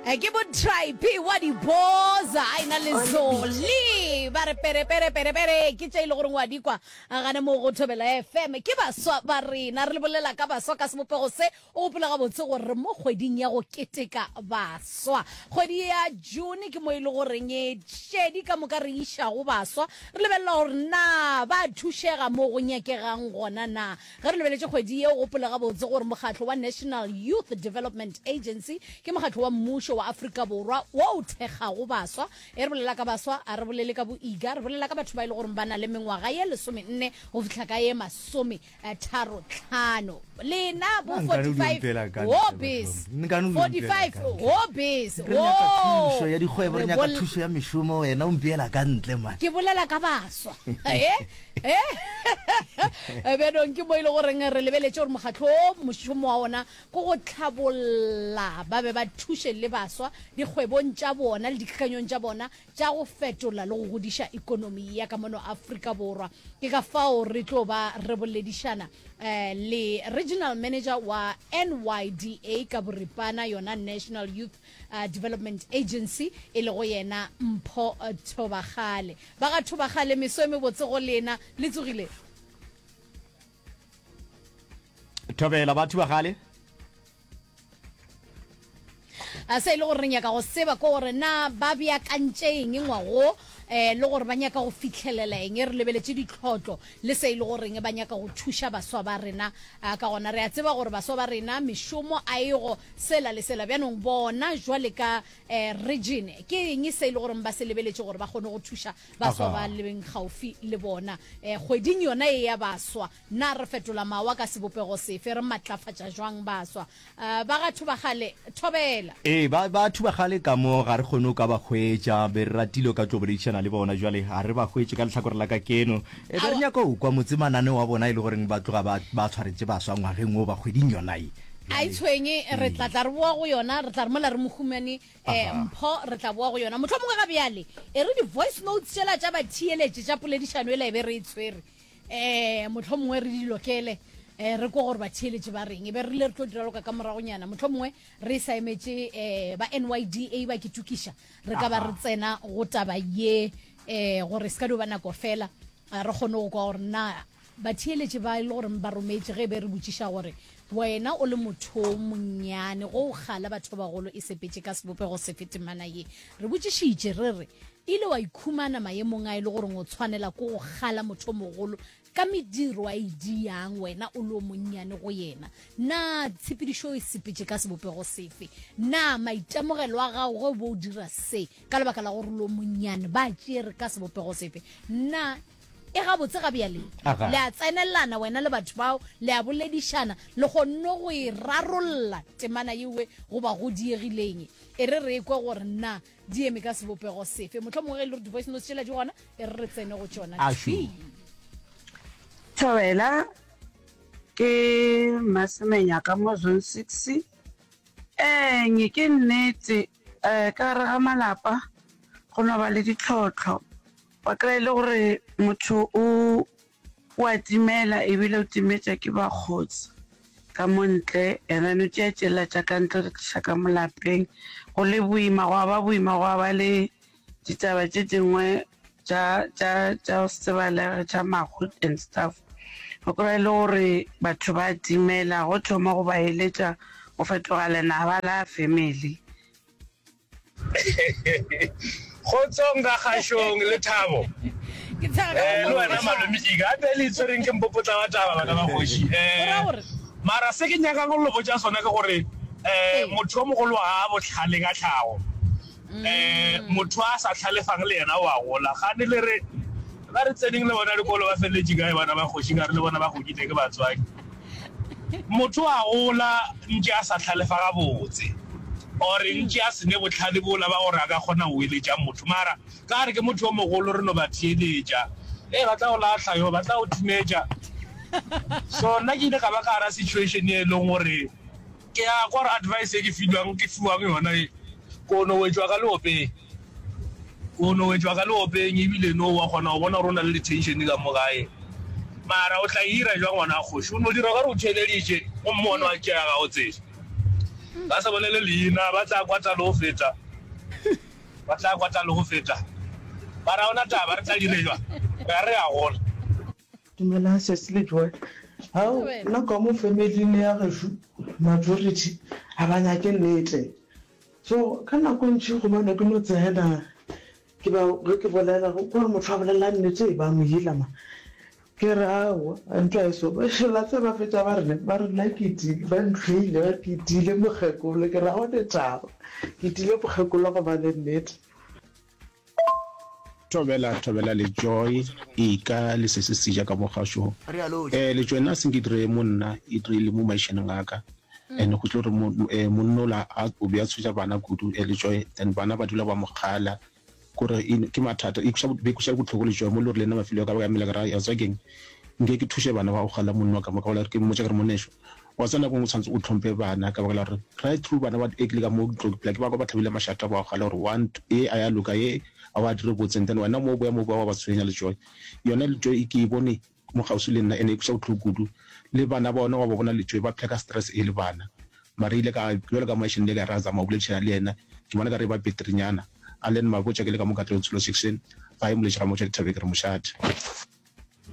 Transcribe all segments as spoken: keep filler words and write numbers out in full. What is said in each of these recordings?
Eh, ke botribe wa diboza a ena le zoli ba re pere pere pere pere ke tše e le goreng wa di kwa a gane mo go Thobela F M. Ke baswa ba rena, re le bolela ka baswa ka sebopego se. O gopola gabotse gore re mo kgweding ya go keteka baswa, kgwedi ya June ke mo e le goreng e šedi ka moka re išago baswa, re lebelela gore na ba thušega mo go nyakegang gona na. Ge re lebeletše kgwedi ye, o gopole gabotse gore mokgatlo wa National Youth Development Agency ke mokgatlo wa mmušo wa Afrika Borwa wo o thekgago baswa. E re bolela ka baswa, a re bolele ka boiga, re bolela ka batho ba e le gore ba na le mengwaga ye lesomenne go fihla ka ye masome eh, tharo tlhano. Lena bo Nna nkane o di forty-five mpela ka ntle, hobbies, batho ba. Nkane o di mpela forty-five ka ntle. hobbies. Re nyaka thušo ya dikgwebo, re Re nyaka bol- thušo ya mešomo, wena o mpeela ka ntle, man. Ke bolela ka baswa. Eh? Eh? Bjanong ke mo e le goreng re lebeletše gore mokgatlo o mošomo wa ona ke go tlhabolla ba be ba thuše le baswa dikgwebong tša bona le dikakanyong tša bona tša go fetola le go godiša ikonomi ya ka mono Afrika Borwa. Ke ka fao re tlo ba re boledišana eh, le regional manager wa N Y D A ka boripana, yona National Youth uh, Development Agency, e lego yena Mpho eh, Thobakgale. Ba ga Thobakgale, meso e mebotse go lena, le tsogile? Thobela, batho ba gale. A se e le gore re nyaka go tseba ke gore na ba beakantše eng ngwago um le gore ba nyaka go fitlhelela eng. Re lebeletše ditlhotlo le se e le goreng ba nyaka go thuša baswa ba rena ah, ka gona. Re a tseba gore baswa ba rena mešomo a ego sela le sela. Bjanong bona jwale ka um region, ke eng se e le goreng ba se lebeletše gore ba kgone go thuša baswa ba Aga. lebeng gaufi le bona um kgweding yona e ya baswa? Na re fetola mawa ka sebopego sefe, re matlafatša jwang baswa uh, ba ga Thobakgale? Thobela. Ee, ba ba Thubagale ka mo ga re kgone go ka ba hwetša, be re ratile o ka tlo boledišana le bona, jwale ga re ba hwetše ka lehlakore la ka keno. E be re Aowa. nyaka go kwa motse mananeo wa bona e le goreng ba tloga ba ba tshwaretše baswa ngwageng wo ba kgweding yona ye. A e Bjale tshwenye, re tla ee. tla re boa go yona, re tla re mola re mo humane um Aha. Mpho, re tla boa go yona motlho mongwe. Ga bjale e re di-voice notes tšela tša batheeletše tša poledišano ela e be re e tshwere, um motlho mongwe re di lokele, um re ko gore batheeletše ba reng, e be re rile re tlo dira loka ka moragonyana. Motlho mongwe re sa emetše um ba N Y D A ba ke tukiša, re ka ba re Aha. tsena go taba ye um gore se ka dio ba nako fela, eh, re kgone go kwa gore na batheeletše ba e le gore ba rometše. Ge e be re botšiša gore wena o le motho o monnyane go o kgala batho ba bagolo, e sepetše ka sebopego sefe temana ye? Re botšišitše re re ile wa ikhumana maemong a e le goreng o tshwanela ko go kgala motho o mogolo ka mediro a e diang, wena o le o monnyane go yena, na tshepedišo e sepetše ka sebopego sefe? Na maitemogelo a gago ge o bo o dira se ka lebaka la gore o le o monnyane ba tšere ka sebopego sefe? Na e gabotse ga bjale? Aga. Le a tsenelana wena le batho bao, le a boledišana, le kgonne go e rarolla temana yewe goba go diegileng? E re re kwe gore na di eme ka sebopego sefe. Motlho mongwe ge e le gore di-voice notes tšela di gona, e re re tsene go tšona. Ašu. Thwi. Thobela, ke Masemenya ka mo Zone six. Eng ke nnete, eh ka gare ga malapa go no ba le ditlhotlho. Wa kry-a e le gore motho o o a timela, ebile o timetša ke bakgotsi ka mo ntle, and then o tšea tšela tša ka ntle o di tliša ka mo lapeng. Go le boima, gwa ba boima, gwa ba le ditaba tše dingwe tša tša tša go se tsebalege, tša mahu and stuff. O kry-a e le gore batho ba timela, go thoma go ba eletša go fetoga lenaba la family. Kgotsong ka kgašong le thabo. Ke tshega ka Eh, le wena mokgwa. Malome Ika, gape le itshwereng ke mpopotla wa taba bana ba kgoši. Go ra Eh, gore mara se ke nyakang go le botša sona ke gore eh ee. motho o mogolo ga a bohlale ka tlhago. Eh, motho a sa tlhalefang le yena o a gola. Gane le re ba re tseneng le bona dikolo ba feleletše kae bana ba kgoši, ka re le bona ba godile ke batswadi. Motho a gola ntše a sa tlhalefa gabotse, or ntše a se ne bohlale bola ba gore a ka kgona go eletša motho. Mara ka re ke motho yo mogolo, re no ba theeletša. Ee, ba tla go lahla yo, ba tla go timetša. So nna ke ile ka ba ka gara situation e leng gore ke a kwa gore advice e ke filwang, ke fiwang yona e, ko no wetšwa ka leopeng. Ko no wetšwa ka leopeng, ebile no wa kgona go bona gore o na le di-tension ka mo gae. Mara o tla e ira jwang ngwana wa kgoši? O no dira o ka re o theeleditše gomme wa no a tšea ga o tsebe. Ba sa bolele leina, ba tla kwata le go feta. Ba tla kwata le go feta. Ba ra ona taba re tla dire jwang? Re a re a gola. Dumelang sesi le Joy. Ao, nna ka mo familing ya gešo majority ga ba nyake nnete. So ka nako e ntši gobane ke no tsena ke ba ge ke bolela ke gore motho a bolela nnete ba mo ila ma. Ke re aowa ntwa e so la tseba ba fetša ba re ba re nna ke tiile ba ntlhoile ba re ke tiile mokgekolo ke re ga gona taba ke tiile mokgekolo gobane nnete. Thobela Thobela le Joy ika le sesi seja ka mo gašo eh le Joy nna senke dire mo nna e dirile mo maišaneng a ka and go tlo re mo eh monna ola a o be a tshoša bana kudu eh le Joy then bana ba dula ba mo kgala kore e ke mathata e kweša be kweša bohloko le Joy mo le gore le nna mafelo a ka ba ka emela ka ra ya tswa keng nke ke thuše bana ba go kgala monna wa ka mo ka bolela ke mmotša ke re monešo Wa tseba nako e nngwe o tshwanetse o tlhomphe bana ka baka la gore right through bana ba e ke le ka mo ke tlo phela ke ba kwa ba tlhabile mašata ba gala gore one ye a ya loka ye a wa dire botse and then wena mo o boya mo ba wa ba tshwenya le joy yona le joy ke e bone mo kgauswi le nna ene e kweša bohloko kudu le bana ba ona wa ba bona le joy ba phela ka stress e le bana mara ile ka bjalo ka moašane le ka ra zama go boledišana le yena ke bona ka re ba beterenyana a len mabotša ke le ka mo Katlehong Tsholo section gae moletši ga motša dithabeng ke re mošate.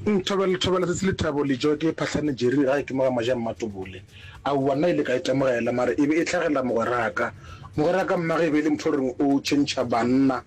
Thobela, Thobela Tsatsi Lethabo Lejo ke Phahlane Jerry gae ke mo ga Maja Mmatobole. Aowa nna ile ka itemogela mara e be e hlagela mogweraka. Mogweraka mmage e be e le motho o reng o tšhentšha banna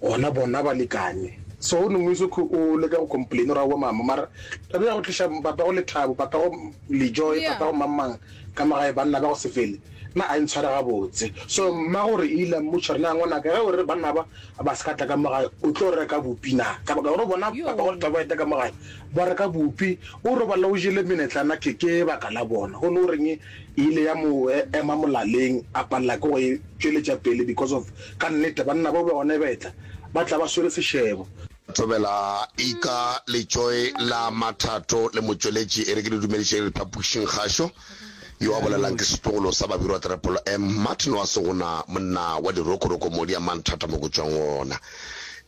gona bona balekane. So o nongwe so o leka go complain gore aowa mama mara taba ya go tliša papago Lethabo, papago Lejoe, Yeah. papago mang mang ka mo gae banna ba go se fele nna a e ntshware gabotse. So mmagore e ile a mmotša gore na ngwanaka ge o re banna ba ba se ka tla ka mo gae o tlo reka bupi na? Ka baka gore o bona papa go Lethabo ba eta ka mo gae ba reka bupi o robala o jele menetlana ke ke baka la bona. Go no reng e ile ya mo ema molaleng a palela ke go e tšweletša pele because of ka nnete banna bao ba gona ba etla ba tla ba swere sešebo. Thobela Ika Letšoe la Mathato le motšweletši e re ke le dumediše le phapošing kgašo. Yo a bolelang ke setlogolo sa Babirwa Trepolo M. Martin wa Segona monna wa dirokoroko modi a manthata mo ke tšwang gona.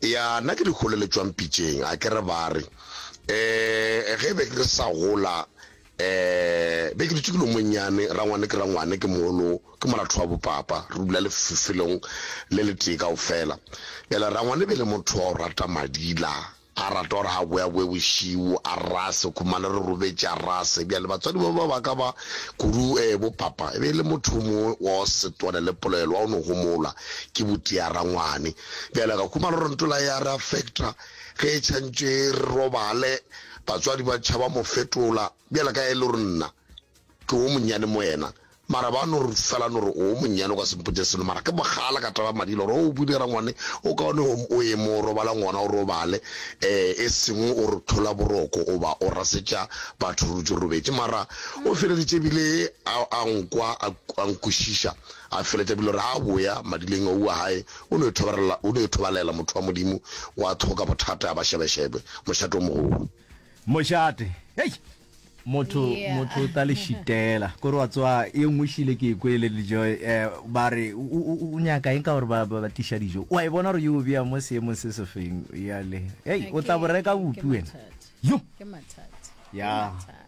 Ya nna ke dikgole le tšwang pitšeng a ke re ba re eh ge be ke sa gola eh be ke dutše ke le monnyane rangwane ke rangwane ke mogolo ke moratho wa bopapa re dula lefelong le letee kaofela. Bjale rangwane be le motho wa go rata madila A rata gore a boyaboe bošego, a rase, khumane re robetše, a rase. Bjale batswadi ba ba ba ka ba, kudu eh, bo papa, e be e le motho o mongwe wa go se twane le polelo, wa go no homola, ke botia rangwane. Bjale ka khumana gore ntola e a re affecta, ge e tšhantše re robale, batswadi ba tšhaba mo fetola, bjale ka e le gore nna ke wo monnyane mo yena, Mara ba no re fela no re o monnyane o ka se mpotše selo mara ke bogala ka taba madila gore o bule rangwane o kaone o ye mo o robalang gona o robale um e seng o re thola boroko o ba o rasetša batho re dutše re robetše mara o feleditše ebile a a nkwa a nkwešiša a feletša ebile gore a boya madileng oua gae o no ithobalela o no ithobalela motho wa modimo wa tlhoka bothata a ba šebešebe mošate o mogolo. Mošate hei Motho Yeah. motho o tla le šitela kore wa tsoa ye nngwe šile ke e kwele dijo eh, ba re o- o o nyaka eng ka gore ba ba ba tliša dijo wa e bona gore yo o bea mo seemong se se feng yale hei o tla bo Ke reka ke bupi wena mathata. yo Ke mathata. Ke ya mathata.